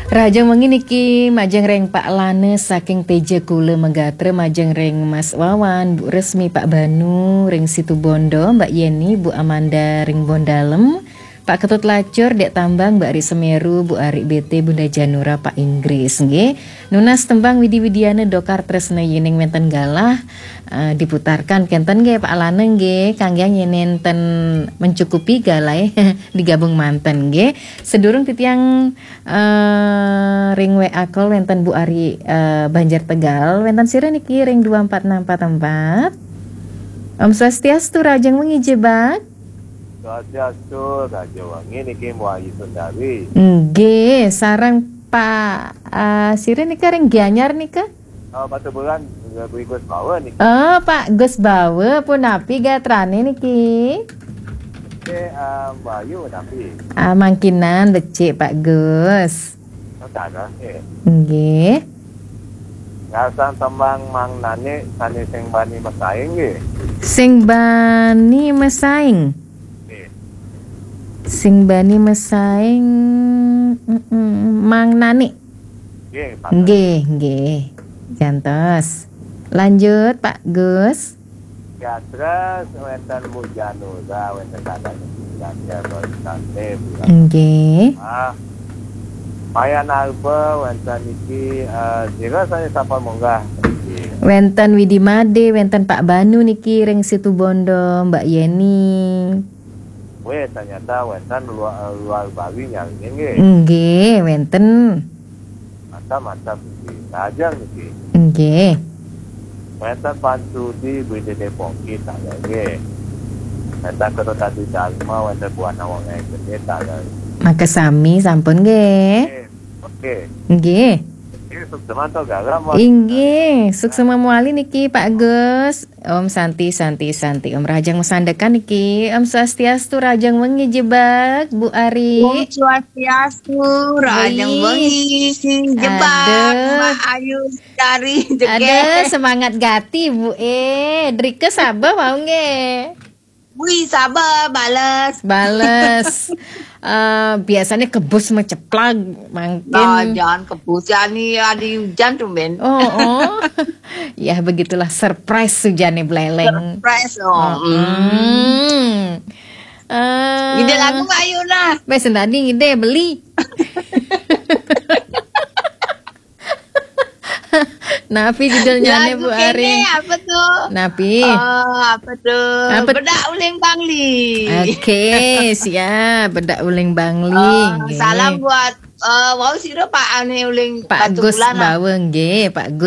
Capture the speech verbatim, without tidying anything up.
Rahajeng wengi niki majeng ring Pak Lana saking Teja Kula Megatra, majeng ring Mas Wawan, Bu Resmi, Pak Banu, ring Situbondo, Mbak Yeni, Bu Amanda ring Bondalem, Pak Ketut Lacur, Dek Tambang, Mbak Ari Semeru, Bu Ari B T, Bunda Janura, Pak Inggris, nggih. Nunas tembang Widi Widiana Dokar Tresna Yening Wenten Galah, eh, diputarkan kenten nggih, Pak Lana nggih, kangge yen nenten mencukupi galahe digabung manten nggih. Sedurung titiang Eh, ring W A call wenten Bu Ari, eh, Banjar Tegal, wenten sira niki ring dua empat enam empat empat. Om Swastiastu, rahajeng wengi Jebak. Swastiastu, rahajeng wengi niki Mbok Ayu Sundari. Nggih, sareng Pak, eh, sira nika ring Gianyar nika? Oh, Batubulan, Gus Bawa niki. Oh, Pak Gus Bawa, punapi gatrane niki? Nggih, eh, Mbok Ayu punapi? Ah, mangkinan becik, Pak Gus. Oh, tak ada, nggih. Nggih. Ngarsan tembang Mang Nani sane sing bani mesaing nggih. Sing bani mesaing. Nggih. Sing bani mesaing, mm-mm, Mang Nani. Nggih, Pak. Nggih, nggih. Jantos. Lanjut, Pak Gus. Ya, terus wenten Bu Janura, wenten kadang ya, Bu. Nggih. Ah, Mayan Alba, wenten niki, eh, sira sane sampun munggah niki. Wenten Widi Made, wenten Pak Banu niki ring Situbondo, Mbak Yeni. Weh, ternyata wenten luar, luar Bali nyarine nggih. Nggih, wenten. Mantap, mantap niki. Lajeng niki. Nggih. Wenten Pan Sudi, Bu Dede Pongki, taler nggih. Wenten Kota Tadi Dharma, wenten Buana Wong Gede, taler. Makasami sampun nggih. Nggih. Oke. Nggih. Nggih, suksema to galam, Mas. Inggih, suksema mawali niki Pak Gus. Om Santi, Santi, Santi. Om rahajeng masandekan niki. Om Swastiastu, rahajeng wengi Jebak, Bu Ari. Om Swastiastu, rahajeng wengi Jebak, Aduh. Mbak Ayu dari Jegek. Aduh, semangat gati, Bu. Eh, drike saba mau nggih. Wih, saba, bales. Bales. Eh, biasanya kebus meceplak, mangkin. Nah, jangan kebus, ya, nih, ada hujan tumben. Oh, oh. Ya, begitulah surprise hujannya beleleng. Surprise, oh. Oh, hmm. Eh, ide lagu ayo lah. Wes, tadi ide beli. Napi judulnya, Bu Ari? Apa tuh? Napi? Oh, apa tuh? Apa? Bedak Uling Bangli. Oke, siap. Bedak Uling Bangli. Oh, nggih. Salam buat, eh, wau sira Pak Ane Uling Pak Gus Batubulan lah. Bawa nggih, Pak Gus